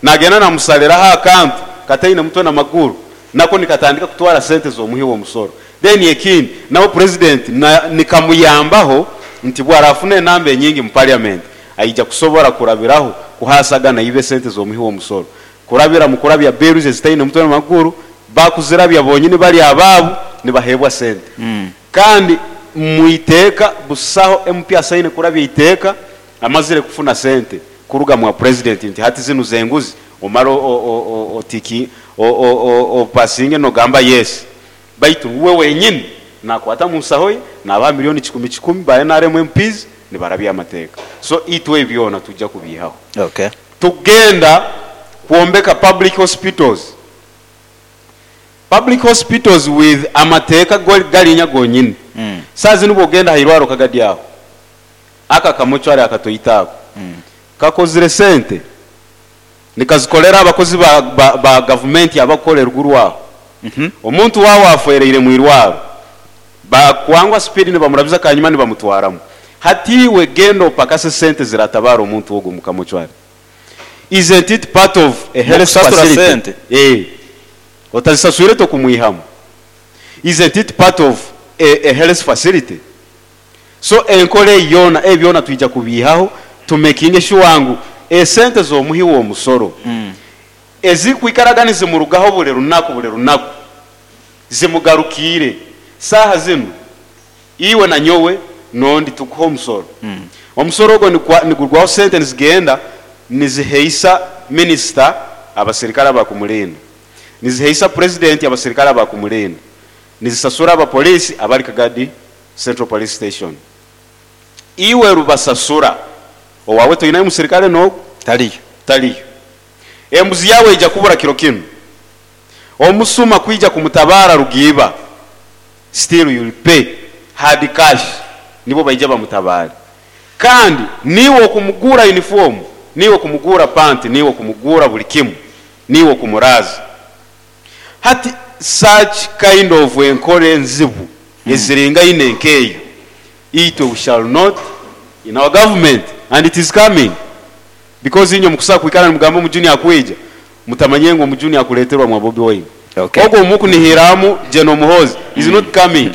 Nagenda namusariraho akantu kataine mutwe na maguru nako nikatandika kutwara sente z'omuhi w'omusoro. Then ekindi nawe Purezidenti nikamuyambaho nti bwarafuna enamba enyingi mu parliament aija kusobora kurabiraho kuhasaga naiba esente z'omuhi w'omusoro. Kurabira mu kurabya bills ezitaine mutwe na maguru, bakuzirabya bonyini bari abaabo nibaheebwa sente. Kandi mu iteeka busaho MP asaine kurabya iteeka amazire kufuna sente kuruga mwa President nti hati zinu z'enguzi omare otiki opasinge nogamba yes. Baitu uwe wenyini nakwata mu nsaho ye nabaha milioni kikumi kikumi ba nrm MPs nibarabya amateeka. So itwe ebi byona twija kubiihaho. Tugenda kwombeka public hospitals. Public hospitals with amateeka garinya gonyini. Saaha zinu bwogenda aha irwariro Kagadi aho, aka akamochwari akatoito ako, kakozire sente nikazikorera abakozi ba gavumenti abakukora eruguru aho. Omuntu waawe afwereire mu irwariro, bakwangwa speed nibamurabiza kanyima nibamutwaramu. Hati iwe genda opakase sente ziratabaara omuntu ogwo omu kamochwari. Isn't it part of a health Mukusasura facility? sente? Otazisaswire tokumwihamu. Isn't it part of a health facility? So enkora eyi yoona, ebi byona twija kubiihaho tumekinge sure ngu esente z'omuhi w'omusoro ezirikwikaraga nizimurugaho buri runaku buri runaku zimugarukiire. Saaha zinu iwe na nyowe n'ondi tukuha omusoro. Omusoro ogwo nigurwaho sente nizigenda niziheisa minisita abasirikare abakumurinda, niziheisa purezidenti abasirikare abakumurinda, nizisasura abapoliisi abari Kagadi Central Police Station. Iwe rubasasura, owaawe toinayo musirikare n'ogwo? Tariyo. Tariyo. Embuzi yaawe eija kubura kiro kinu. Omusuma kwija kumutabaara rugiiba, still you'll pay hard cash, nibo baija bamutabaare. Kandi niiwe okumugura uniform, niiwe okumugura panti, niiwe okumugura buri kimu, niiwe okumuraaza. Hati such kind of enkora enzibu eziringaine nk'eyo, itwe we shall not in our government and it is coming. Because inywe mukusobola kwikara nimugamba omujuni akwija, mutamanyire ngu omujuni akureterwa mwa Bobi Wine. Ogwo omukunihiramu General Muhoozi is not coming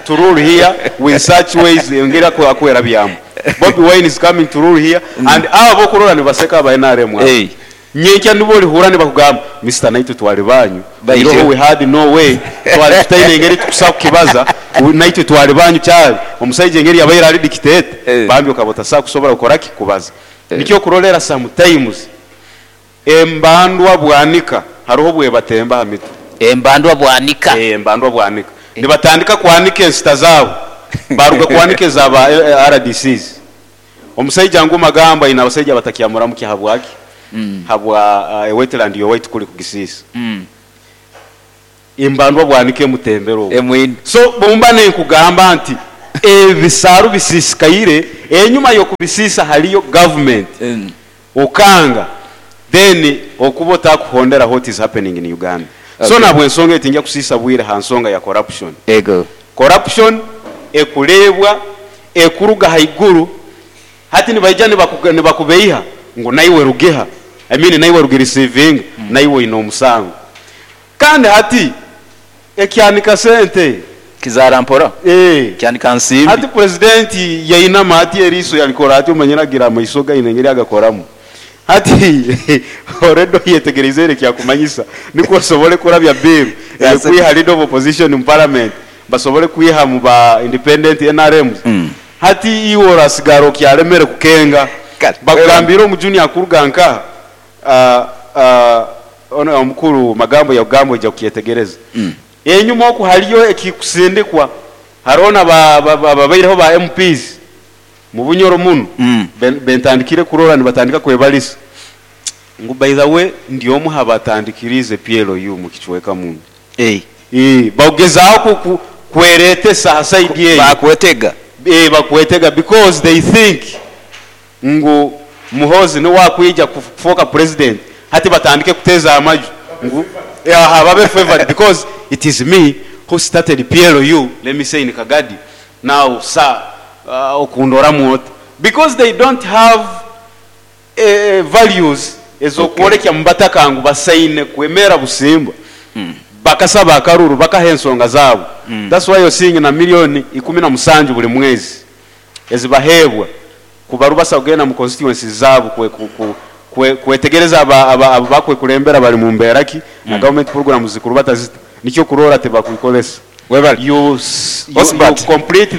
to rule here with such ways engeri akwerabyamu. Bobi Wine is coming to rule here and abo abokurora nibaseka aba NRM abo. Nyenkya nibo orihurra nibakugamba Mister naitwe twali banyu, iroho we had no way, twali tutaine engeri tukusobola kukibaza, naitwe twali banyu kyali omusaija engeri yabaire ari dictator, bambi okaba otasobola kusobora kukora ki? Kubaza. Nikyo okurorera sometimes embandwa bwanika haroho obwebatemba aha mitwe. Embandwa bwanika. Eeh embandwa bwanika. Nibatandika kwanika ensita zaabo, baaruga kwanika eza ba RDCs. Omusaija ngu Magambo aine abasaija abatakyamuramukya habwaki? Habwa ewetland y'owaitu kuli kugisiisa. Embandwa bwanika emutembere obwo. Emwine. So bwemba ninkugamba nti ebisaaru bisiisikaire, enyuma y'okubisiisa haliyo government. Okanga then okuba otakuhondera what is happening in Uganda. So Okay. nabwensonga eyo tingya kusiisa bwire ha nsonga ya corruption. Ego. Corruption ekureebwa, ekuruga haiguru, hati nibaija nibakubeiha ngu naiwe rugiha, I mean naiwe rugireceivinga, naiwe oine omusango. Kandi hati ekyanika sente. Kizaara mpora. Eeh. Kyanika nsimbi. Hati president yainama ati eriiso yalikora ati omanyire agira amaiso ge aine engeri agakoramu. Hati already oyetegereize ere ekyakumanyisa nikwo osobole kurabya bill eyokwiha leader of opposition mu parliament basobole kwiha mu ba independent NRMs. Hati iwe orasigara okyalemere kukenga. Kale. Bakugambiire omujuni akuruga nkaha? Ono omukuru Magambo yakugamba oija kukyetegereza. Enyuma oku haliyo ekikusindikwa, haroho na ababaireho ba MPs mu Bunyoro munu bentandikire kurora nibatandika kwebalisa ngu by the way ndi omu ha batandikiriize PLU mu kicweka munu. Bagezaaho kweretesa ha side eyo. Bakwetega. Bakwetega because they think ngu Muhoozi niwe akwija kufooka president hati batandike kuteeza amaju ngu aha babe favoured because it is me who started PLU let me say in Kagadi now sir okundoramu ota because they don't have values ezokworekya mubataka ngu basaine kwemera busimba bakasaba akaruru bakaha ensonga zaabo that's why you're seeing na million 17 buri mwezi ezibaheebwa Kubarubasa kugenda mu constituencies zaabo kwetegereza abu bakwekulembera bari mu mbeera ki na government programs zikurubata zita. Nikyo okuroora tibakwikoresa. Webale. You Osbert. complete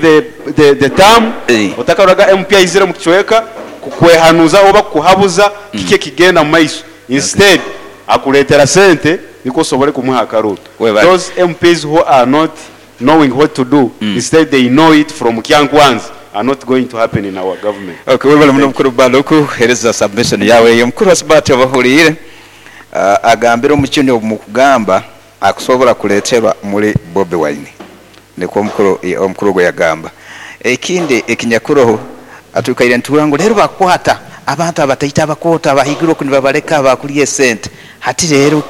the term otakaroraga MP aizire omu kicweka kukwehanuza oba kukuhabuza kiki ekigenda mu maiso. Instead akureetera sente nikwo osobole kumuha akaruru. Webale. Those MPs who are not knowing what to do instead they know it from Kyankwanzi are not going to happen in our government. Ok webale muno mukuru Baluku kuhereza submission yawe eyo. Mukuru Asibati obahuliire agambire omukyuni obu mukugamba akusobora kuleterwa muli Bobi Wine nikwo omukuru omukuru ogu yagamba. Ekindi ekinyakuroho atwikaire nituhurra ngu leero bakukwata abantu abataito abakooto abahaiguru oku nibabaleka bakulya esente hati leero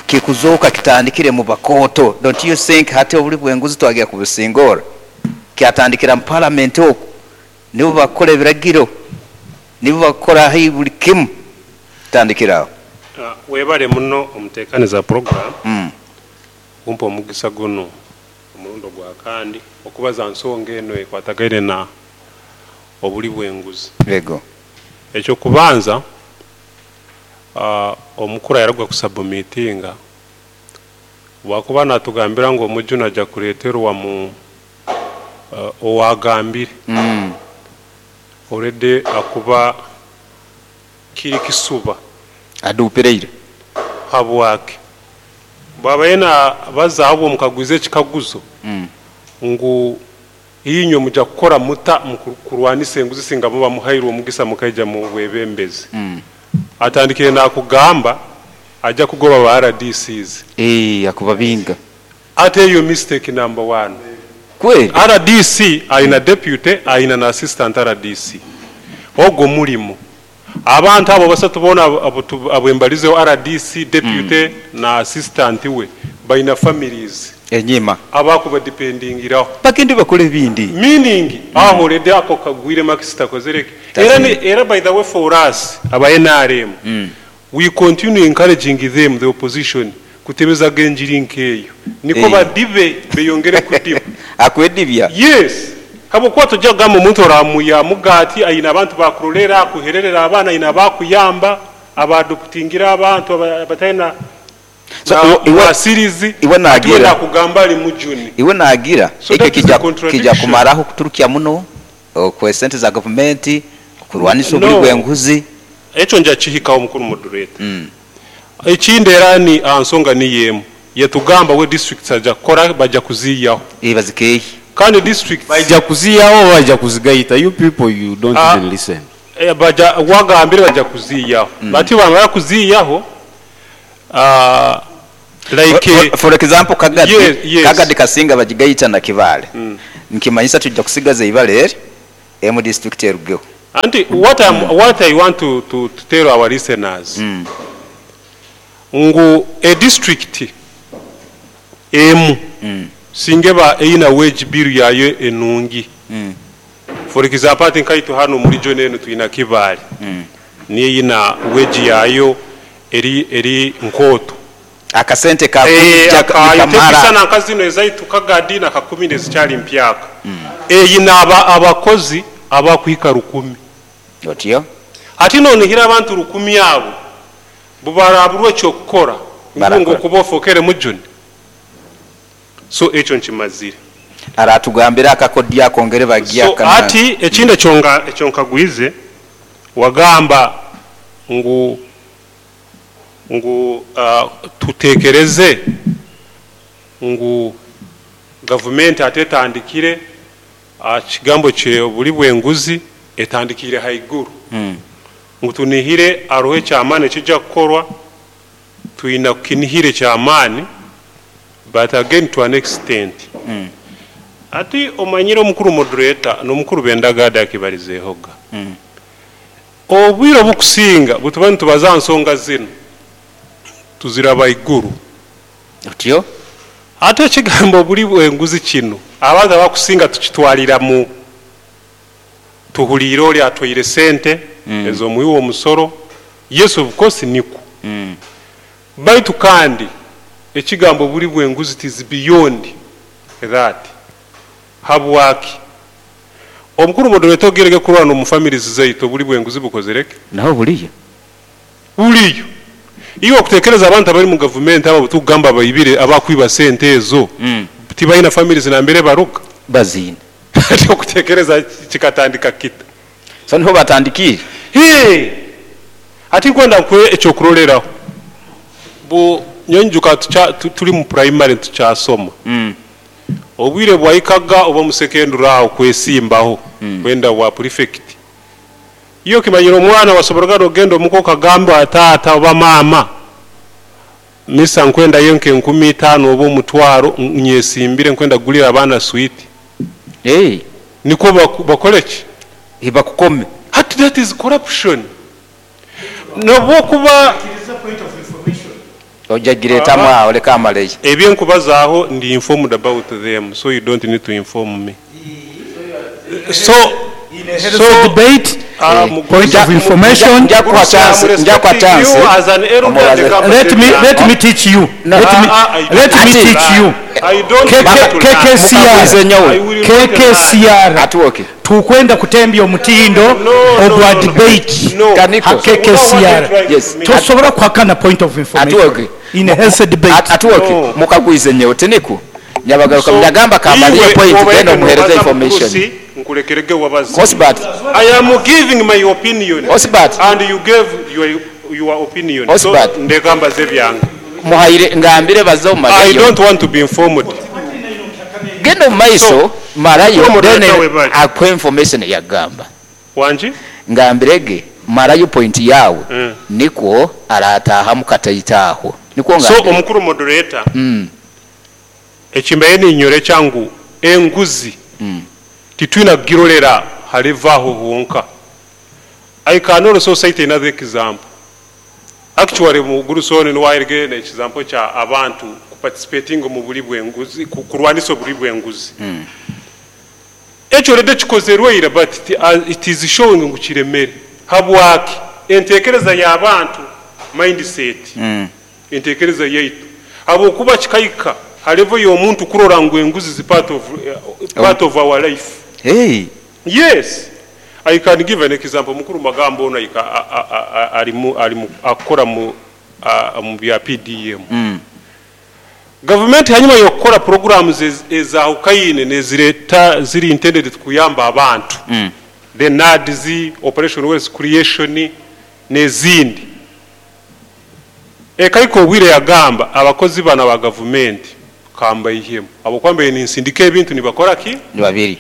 Kikuzooka kitandikire mu bakooto. Don't you think hati obuli bwenguzi twagira kubusingorra? Kyatandikira mu parliament oku. Nibo bakukora ebiragiro, nibo bakukora haihi buli kimu. Kitandikira aho. Webale muno omutekaniza program kumpa omugisa gunu omurundi ogwa kandi okubaza nsonga enu ekwatagaine na obuli bwenguzi. Ego. Ekyokubanza Omukuru ayaruga kusabumitinga obwakuba natugambira ngu omujuni aja kuleterwa mu owagambire already akuba kiri kisuba. Aduupireire. Habwaki? Bwabaire nabazaho bwomukagwize ekikaguzo ngu Inywe muja kukora muta mu kurwanisa enguzi singa muba muhairwe omugisa mukaija mu bwebembezi? Atandikire nakugamba aja kugoba ba RDCs. Eeh akubabinga. Ati eyo mistake number one. Kweli. Rdc ayina deputy ayina na assistant rdc. Ogwo mulimo. Abantu abo basatu bona abwembalizeho rdc, deputy na assistant we baina families. Enyima. Abakubadipendingiraho. Bagende bakole ebindi. Meaning aho already ako kagwire marks takozire ki? Era ni era by the way for us aba nrm we continue encouraging them the opposition kutebezaga enjiri nkeyo nikwo badibe beyongere kudiba. Akwedibya. Yes habwokuba toija kugamba omuntu oramuya mugati aine abantu bakurorera akuhererera abaana aine abakuyamba aba adoptingire abantu abataine So Na iwe, iwe, mwasirizi iwe ati we nagira nakugamba ali mujuni. iwe nagira So ekyo that is a kija kija contradiction. kumaraho kuturukya muno okwe sente za gavumenti okurwanisa obuli No. bwenguzi. Ekyo nja kihikaho mukuru moderator. Ekindi era ni aha nsonga niyo emu. Yatugamba we districts aja kukora baja kuziiyaho. Eh bazikeehi. Kandi districts. Baija kuziiyaho oba baija kuzigaita you people you don't even listen. Baja wagambire baja kuziiyaho but bamara kuziiyaho like. For example Kagadi, Kagadi kasinga bagigaita na Kibaale nikimanyisa twija kusigaza eibare eri emu district erugeho. Anti what I'm, what I want to, to, to tell our listeners ngu e district emu singa eba eyina wage bill yayo enungi for example ati nkaitwe hanu omu region enu twina Kibaale niyo eyina wage yayo eri eri nkooto. Akasente kakwija Akayo nikamara. Tekusana nka zino ezaitu Kagadi na Kakumiro ezikyali mpyaka. Eyina abakozi abakuhika rukumi. Otyo. Hati nonihira abantu rukumi abo bubaraburwa ekyokukora ngu Barakora. okuba ofokere mujuni. So ekyo nkimazire. Aratugambira akakodyo akongere bagiya So hati ekindi ekyonkagwize wagamba ngu ngu tutekereze ngu gavumenti ate etandikire kigambo kye obuli bw'enguzi etandikire haiguru. Ngu tunihire aroho ekyamaani ekijja kukorwa, twina kukinihira ekyamaani but again to an extent. Ati omanyire omukuru moderator n'omukuru Bendagadi akibarizeehoga. Obwire obukusinga butuba nitubaza aha nsonga zinu tuziraba haiguru. Otyo? Ate ekigambo obuli bw'enguzi kinu abantu abakusinga tukitwarira mu tuhuliire ori atwaire sente ez'omuhi w'omusoro. Yes, of course nikwo. Baitu kandi ekigambo obuli bw'enguzi it is beyond that. Habwaki? Omukuru moderator ogerege kurwana omu families zaitu obuli bw'enguzi bukozire ki? Naho buriyo. Buriyo. Iwe okutekereza abantu abari mu gavumenti abo tukugamba abaibire abakwiba sente ezo tibaina families nambere baruga? Baziine. Ati okutekereza kikatandika kita? So niho batandikire? Hee! Ati nkwenda nkuhe ekyokuroreraho. Bu nyowe nyijuka turi mu primary tukyasoma. Obwire bwahikaga oba omu secondary aho kwesimbaho kwenda bwa prefect. Iwe okimanyire omwana wasoboraga nogenda omuka okagamba taata oba maama misa nkwendayo nke nkumi itaano oba omutwaro nyesimbire nkwenda kugurira abaana sweet. Nikwo bakore ki? Bakukome. Hati that is corruption. Nobwokuba Ojagiretamu aho leka amaleyo. Ebyenkubazaaho ndi informed about them so you don't need to inform me. So So, debate, point of information. Njakuha chance, njakuha chance. You as an elder, Omubaze. the government Let me, let me teach you. No. Let me, let me teach you. I don't want to learn. KKCR. Mukaguze nyowe. I will not learn. KKCR. Atuoke. Tukwenda kutembya omutindo No, no, ogwa no, no. debate. No. Kaniko. Ha KKCR. Yes. Tosobola kuhakana point of information. Atuoke. In a healthy debate. Atuoke. No. Mukagwize nyowe tiniku. Nyabagaruka So, mnyagamba kamaliye iwe point obaye then omuhereze nobaza information. Mukurusi, nkulekerege wabaze. Osbert. I am giving my opinion. Osbert. And you gave your opinion. Osbert. So ndeka mbaze byange. Muhaire ngambire baze I omumarayo. don't want to be informed. Genda omu maiso So, marayo Mukuru then webale. akuhe information yagamba. Wangi? Ngambirege marayo point yawe nikwo aratahamu kataitaho. Nikwo So ngambire. omukuru moderator. Ekimbaye ninyore kyangu enguzi. Titwina kugirorera halivaho honka. I can also cite another example. Actually mu Gurusoni niwairege ne example kya abantu participating mu buli bw'enguzi kurwanisa obuli bw'enguzi. Ekyo rede kikozerwe ira but it is showing ngu kiremere. Habwaki entekereza y'abantu mindset. Entekereza yaitu. Habwokuba kikaika halevo y'omuntu kurora ngu enguzi zi part of our life. Hey. Yes. I can give an example. Mukuru Magambo ono alimu akora mu bya PDM. Government hanyuma yokora programs ezahukaine nezireta ziri intended kuyamba abantu. The NADZ, Operation Wealth Creation nezindi. Ekahika obwire yagamba abakozi banu aba gavumenti kambaihemu habwokuba mbaire ninsindika ebintu nibakora ki? Nibabiri.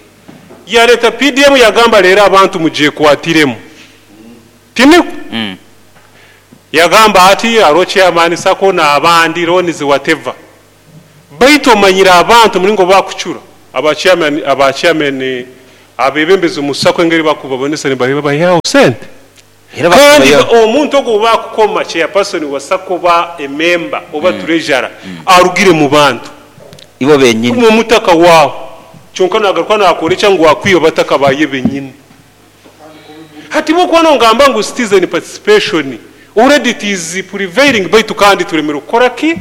Yaleta PDM yagamba leero abantu mugyekwatiremu. Tinikwo? Yagamba ati haroho chairman sacco n'abandi loans whatever. Baitu omanyire abantu omulingo bakucura aba chairman aba chairman abebembezi omu sacco engeri bakubabonesa nibabaihaho sente. Era Kandi bakubayo. omuntu ogu obu bakukoma chairperson wa sacco oba ememba oba treasurer arugire mu bantu. Ibo benyini. Omu mutaka waho. Kyonka nagaruka nakwolekya ngu akwiba bataka baye benyini. Hati bwokuba nogamba ngu citizen participation already it is prevailing baitu kandi tulemere kukora ki?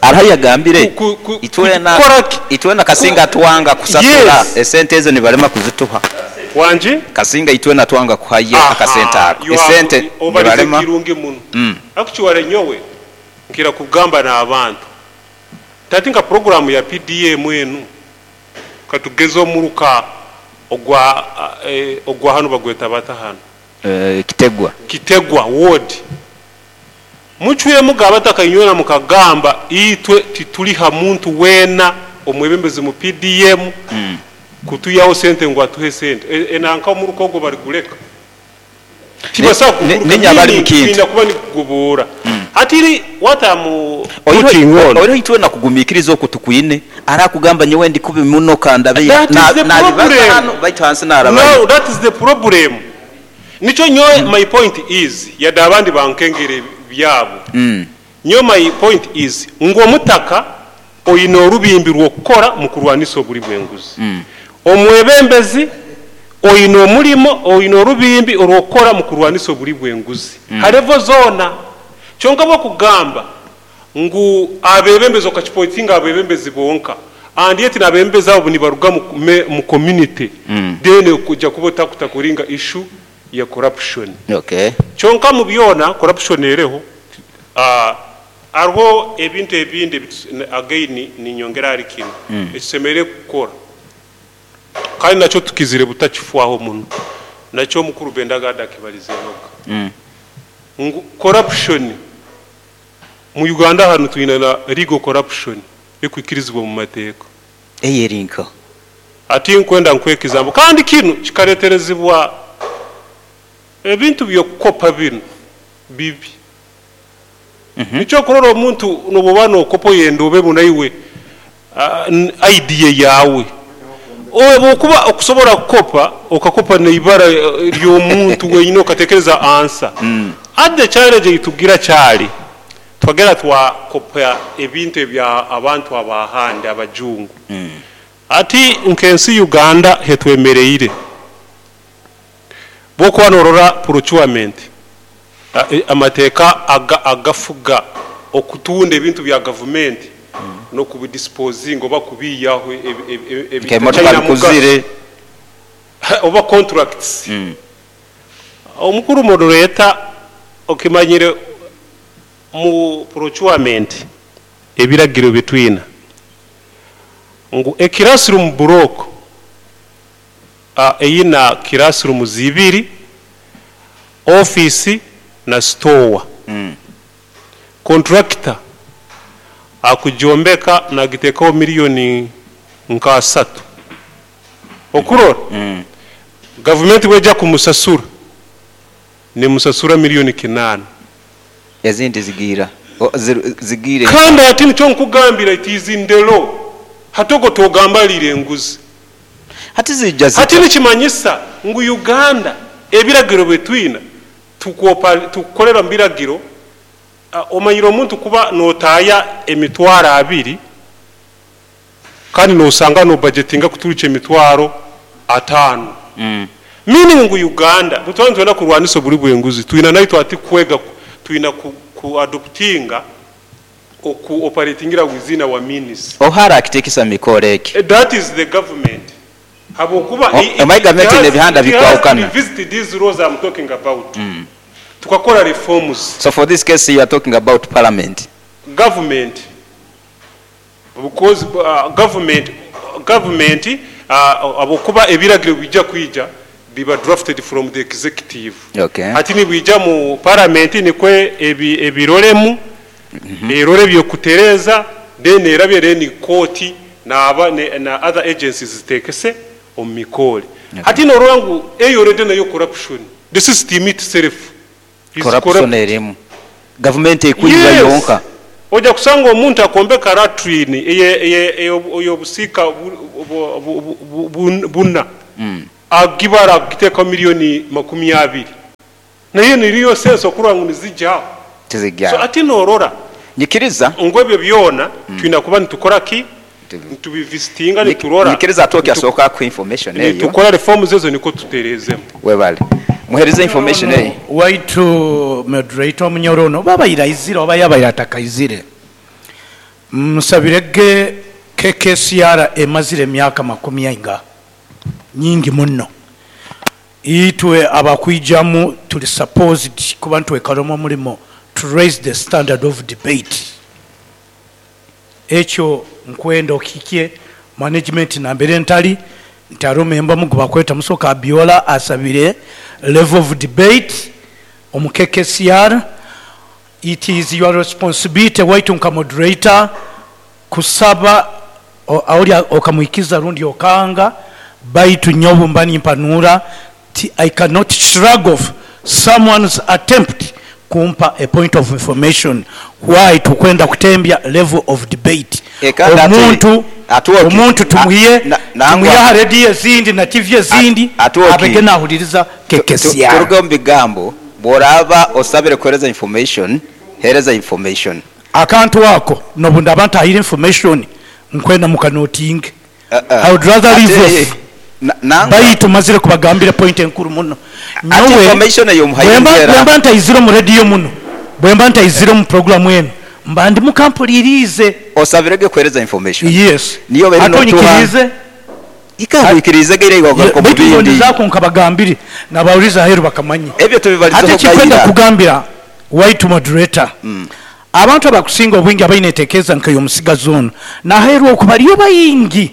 Hariho ayagambire itwena Kukora ki? itwena Kasinga atwanga kusasura Yes. esente ezo nibalema kuzituha. Wangi? Kasinga itwena twanga kuhayo akasente Aha, ako you have esente obalize nibalema. kirungi muno. Actually nyowe nkira kugamba n'abantu tati nka programu ya PDM enu katugeze omuruka ogwa ogwa hanu bagweta bata hanu Kitegwa. Kitegwa ward mucwemu abataka inywena mukagamba itwe tituliha muntu wena omwebembezi mu PDM kutuyaho sente ngu atuhe sente enanka omuruka ogwo baliguleka tibasa Ninye abali mu kintu. kuguruka kuba nikugubura hatiri what I'm putting on Oiro itwena kugumikiriza oku tukwine arakugamba nyowe ndi kubi muno kandabe That is the problem. hano baitu hansi narabayo. No, that is the problem. Nicho nyowe my point is yadde abandi bankengere byabo. Nyowe my point is ngu omutaka oyina orubimbi rw'okukora mu kurwanisa obuli bw'enguzi. Omwebembezi oyina omulimo oyina orubimbi orw'okukora mu kurwanisa obuli bw'enguzi. Ha level zoona. Kyonka bwokugamba ngu abebembezi okakipointinga abebembezi bonka and yet n'abebembezi abo nibaruga mu community then kujja kuba otakutakuringa issue ya corruption. Okay. Kyonka mu byona corruption ereho hariho ebintu ebindi again ninyongera ahari kinu ekisemeriire kukora kandi nakyo tukizire butakifwaho muno nakyo omukuru Bendagada akibalizehoga ngu corruption mu Uganda hanu twine na legal corruption ekwikirizibwa mu mateeka Eyerinka. ati nkwenda nkwekizambo kandi kinu kikareterezibwa ebintu by'okukopa binu bibi. Nikyo kurora omuntu nobuba nokopa oyenda obe munaiwe idea yawe oba okusobola kukopa okakopa neibara ly'omuntu wenyine okatekereza ansa. At the challenge eitugira kyali twagera twakopa ebintu ebya abantu abahandi abajungu. Ati nkensi Uganda hetwemereire bwokuba norora procurement amateeka agafuga okutunda ebintu bya gavumenti n'okubidisposinga oba kubiyaho Nk'emotoka bikuzire. Oba contracts. Omukuru moderator okimanyire mu procurement ebiragiro bitwina ngu e classroom block eyina classroom zibiri office na store. Contractor akujombeka nagitekaho miliyoni nka 3 okurora gavumenti bweja kumusasura nimusasura miliyoni 8 Ezindi zigira zigire. Kandi ati nicyo nkugambira it is in the law hatogo togambalire enguzi Hati zijja zita. Hati nikimanyisa ngu Uganda ebiragiro betwina tukukolera mu biragiro omanyire omuntu kuba notaya emitwaro 2 kandi nosanga no budgetinga kuturuka emitwaro 5. Meaning ngu Uganda butwana twenda kurwanisa obuli bw'enguzi twina naitwe ati kwega twina ku adoptinga oku operatingira within our means. Ohara akitekesa mikoro eki. That is the government. Habwokuba Omayi government n'ebihanda it has bikwahukana. to revisit these laws I'm talking about. Tukakora reforms. So for this case you are talking about parliament. Government. Because government abokuba ebiragiro bijja kwija biba drafted from the executive. Okay. Ati nibwija mu parliament nikwe ebirolemu Erore ebyekutereeza, then erabye, then kooti naba na other agencies ziteekese omu mikoore. Hati norora ngu eyo already nayo corruption, the system itself is corruption. Corrupt. Erimu gavumenti ekwiba Yes. Yonka. Ojja kusanga omuntu akombeka latrine ey'obusiika buna, agibara agiteekaho miliyoni 20, naye niriyo sense okurora ngu nizijyaho. So Tizijja. Ati norora Nyikiriza. Ngu ebyo byona twina kuba nitukora ki, nitubivisitinga, niturora. Nyikiriza atoki asooka ku information eyo. Nitukora reforms ezo niko tuterezemu. Webale muhereze information eyo. Waitu moderator, omunyoro ono babaire aizire oba yabaire atakaizire, musabirege. KKCR emazire emyaka 40, nyingi muno. Itwe abakwijamu tuli supposed kuba ntwekalemu omulimo to raise the standard of debate. Ekyo nkwenda okikye management nambere ntali nti ari omemba mugu bakweta Musoka Abiola asabire level of debate omu KKCR. It is your responsibility waitu nka moderator kusaba aoli okamwikiza rundi okanga, baitu nyobu mba nimpanura ti I cannot shrug off someone's attempt kumpa a point of information why tukwenda kutembya level of debate. Kandi Omuntu atuoki. omuntu tumuhiye Nangwa. tumuhiye aha rediyo ezindi na TV ezindi Atuoki. abege nahuliriza KKCR. Turuge omu bigambo. Bw'oraba osabire kuhereza information, hereza information. Akantu ako nobu ndaba ntahire information, nkwenda mukanotinge. Uh-uh. I would rather leave off. Nangwa. Baitu mazire kubagambira point enkuru muno. Ati information eyo muhayimbera. Bwemba ntayizire mu rediyo muno, bwemba ntayizire mu programu eno, mba ndi mukampulirize. Osabirege kuhereza information. Yes. Niyo beri Ate notuha. onyikirize. Ikahwikirize geire igagaruka mu Baitu bindi. ndondezaako nkabagambire nabawuriza aheru bakamanye. Ebyo tubibalizeho Ate kikwenda gayira. kugambira white moderator, abantu abakusinga obwingi abaine entekereza nk'ey'omusigazi ono naheerwa oku bariyo bayingi,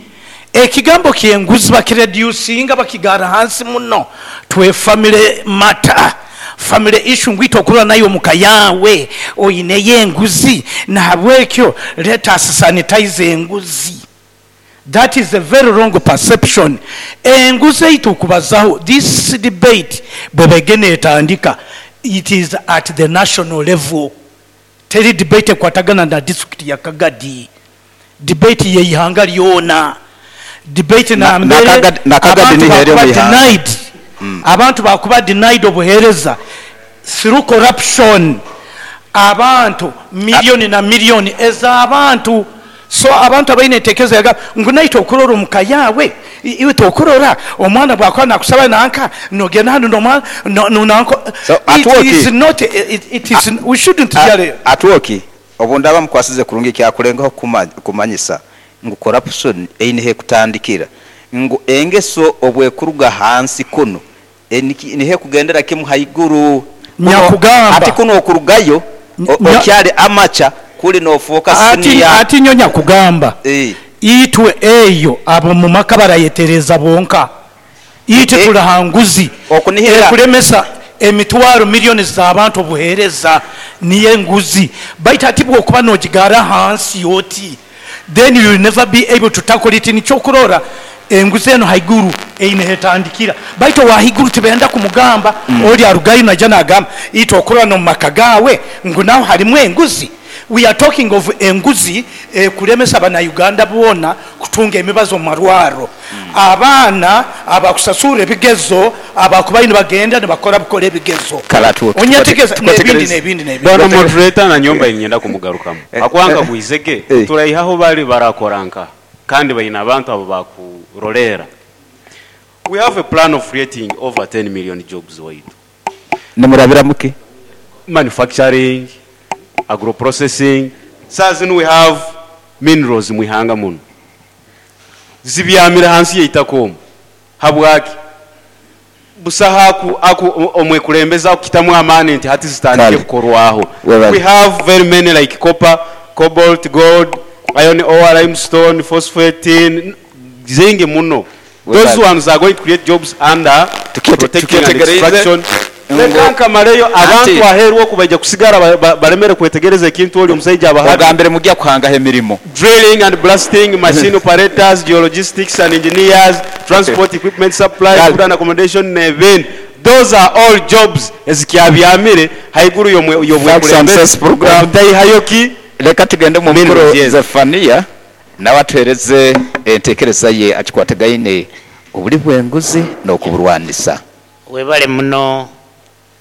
ekigambo kyenguzi bakireducinga bakigara hansi muno. Twe family matter, family issue, ngwita okurora nayo omuka yawe oyineyo enguzi, nahabwekyo let us sanitize enguzi. That is a very wrong perception. Enguzi eitu okubazaho, this debate bwebegene etandika, it is at the national level. Teri debate ekwatagana na district ya Kagadi, debate yeihanga lyona, debate nambere Na Kagadi abantu nihere bakuba omu ihanga. denied, abantu bakuba denied obuhereza through corruption, abantu miliyoni na miliyoni ez'abantu. So abantu abaine entekereza yaga ngu naite okurora omuka yawe, iwe tokurora omwana bwakuba nakusaba nanka nogenda hanu nomwana nanko. So, It atuoki. is not it is we shouldn't really. Atuoki obu ndaba mukwasize kurungi, kyakulengaho kumanyisa ngu corruption eine kutandikira ngu engeso obwekuruga hansi kuno nihe kugendera kimu haiguru. Nyakugamba. Ati kuno okurugayo okyali amacha kuli nofuuka senior. Ati nyo nyakugamba, itwe eyo abo mu maka barayetereza bonka, itwe tulahanguzi Okunihira. Ekulemesa emitwaro miliyoni z'abantu obuheereza niyo enguzi. Baitu ati bwokuba nogigara hansi yoti, then you will never be able to tackle it. Nikyokurora enguzi eno haiguru eine hetandikira, baitu wahiguru tibenda kumugamba. Oli arugayo naija nagamba itwe okurora nomu maka gawe ngu naho harimu enguzi. We are talking of enguzi kulemesa abanauganda boona kutunga emibazo mu marwaro, abaana abakusasura ebigezo abakubayo nibagenda nibakora bukora ebigezo. Kale atuoki. Onyetegeza n'ebindi n'ebindi n'ebindi. Bwana moderator, na nyomba inyenda kumugarukamu akwanga gwizege. Turaihaho bali barakoranka kandi baina abantu abo bakurolera. We have a plan of creating over 10 million jobs waitu. Nimurabira muki? Manufacturing, agroprocessing. Saa zino we have minerals mwihanga muno zibyamira hansi yeitaka omu. Habwaki busaha aku omwekulembeza akukitamu amaani nti hati zitandike Kale. kukorwaho. Webale. We have very many like copper, cobalt, gold, iron ore, limestone, phosphate, tin, zingi muno. Webale. Those ones are going to create jobs under protecting and Tukyetegereze. extraction. Leka nkamaleyo, abantu aheeru oku baija kusigara balemere kwetegereza ekintu oli omusaija abahabye. Ogambire mugya kuhangaho emirimo. Drilling and blasting, machine operators, geologistics and engineers, transport equipment supply, food and accommodation n'ebindi. Those are all jobs ezikyabyamire haiguru y'obwekulembezi obutaihayo ki Leka tugende omu mukuru Zephania nawe atuhereze entekereza ye akikwatagaine obuli bw'enguzi n'okuburwanisa. Webale muno.